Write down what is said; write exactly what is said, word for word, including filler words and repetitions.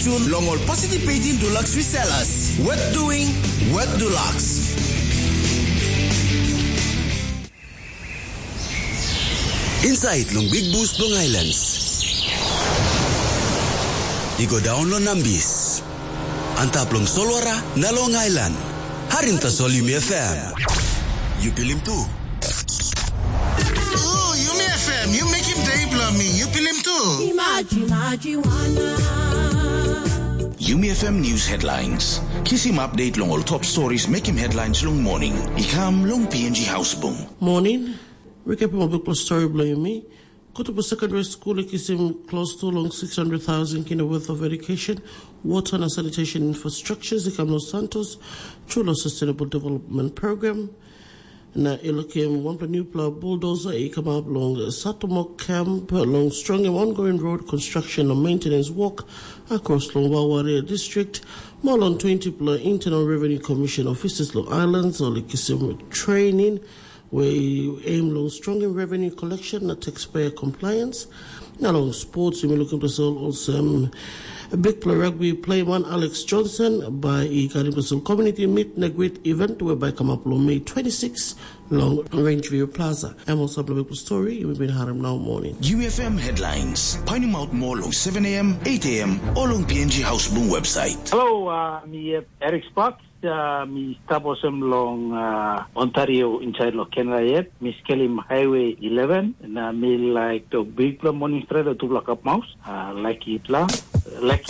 Sun long ol participating Dulux resellers. Worth doing, worth Dulux. Inside long Big Bus bilong Highlands. I go daun long Nambis. Antap long solwara na long ailan. Harim tasol Yumi F M. Yu pilim tu. Ooh, Yumi F M, yu mekim day bilong mi. Yu pilim tu. Imaji, imaji wana. Yumi F M News Headlines. Kisim update long ol top stories mekim headlines long morning. I kam long P N G Hausbung. Morning. Recap ol bikpela stori bilong yumi. Kotopu Secondary School i kisim close to long six hundred thousand kina worth of education, water na sanitation infrastructures i kam long Santos, through long Sustainable Development Program. Na i lukim wanpela newpela bulldozer i kamap long Satomok Camp long strongim ongoing road construction na maintenance work across long Waware District. Mo long twenty pela Internal Revenue Commission offices long islands ol i kisim training where i aim long strongim revenue collection na taxpayer compliance. Na long sports, yumi lukim tasol olsem bikpela rugby playman Alex Johnson bai i karim tasol community meet na great event whereby come up long May twenty-six long Rangeview Plaza. Em olsem bikpela story yumi bin harim now morning. U F M headlines. Painim out more long seven a m, eight a m, or long P N G House Boom website. Hello, uh, mi yet Eric Sparks. Uh, mi stap olsem long uh, Ontario inside lo Canada yet. Mi skelim Highway eleven na mi like to big pla morning straight to block up mouse. Uh, like it la. Like